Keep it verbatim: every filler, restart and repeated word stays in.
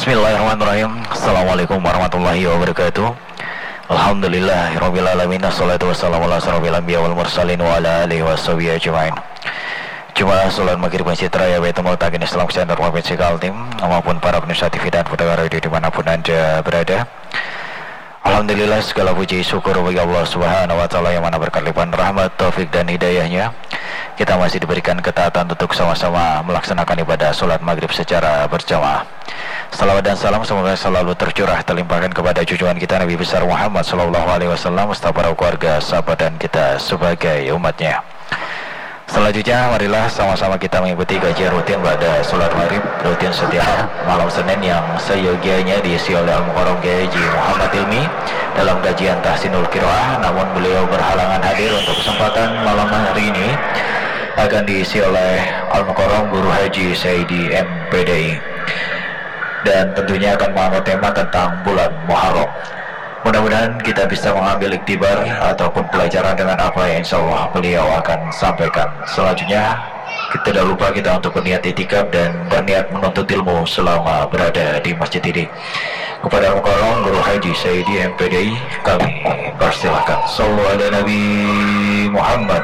Bismillahirrahmanirrahim. Assalamualaikum warahmatullahi wabarakatuh. Alhamdulillahirabbil alamin. Assalatu wassalamu ala asrofil anbiya wal mursalin wa ala alihi washabihi ajmain. Jemaah salat maghrib Masjid Raya Baitul Mutakin Islamic Center Provinsi Kaltim maupun para pemirsa T V dan pendengar radio dimanapun anda berada. Alhamdulillah, segala puji syukur bagi Allah Subhanahu wa Ta'ala yang mana berkat limpahan rahmat, taufik, dan hidayahnya, kita masih diberikan ketaatan untuk sama-sama melaksanakan ibadah salat maghrib secara berjamaah. Salawat dan salam semoga selalu tercurah, terlimpahkan kepada junjungan kita Nabi besar Muhammad Sallallahu Alaihi Wasallam, serta para keluarga, sahabat, dan kita sebagai umatnya. Selanjutnya, marilah sama-sama kita mengikuti kajian rutin pada salat maghrib rutin setiap malam Senin yang seyogianya diisi oleh Al-Mukarram Kiai Haji Muhammad Ilmi dalam kajian Tahsinul Qiraah. Namun, beliau berhalangan hadir untuk kesempatan malam hari ini, akan diisi oleh Al-Mukarram Guru Haji Saidi M P D I. Dan tentunya akan mengangkat tema tentang bulan Muharram. Mudah-mudahan kita bisa mengambil iktibar ataupun pelajaran dengan apa yang insya Allah beliau akan sampaikan. Selanjutnya, tidak lupa kita untuk berniat itikaf dan berniat menuntut ilmu selama berada di masjid ini. Kepada Al-Mukarram Guru Haji Saidi M P D I, kami persilakan. Sallu ala Nabi Muhammad.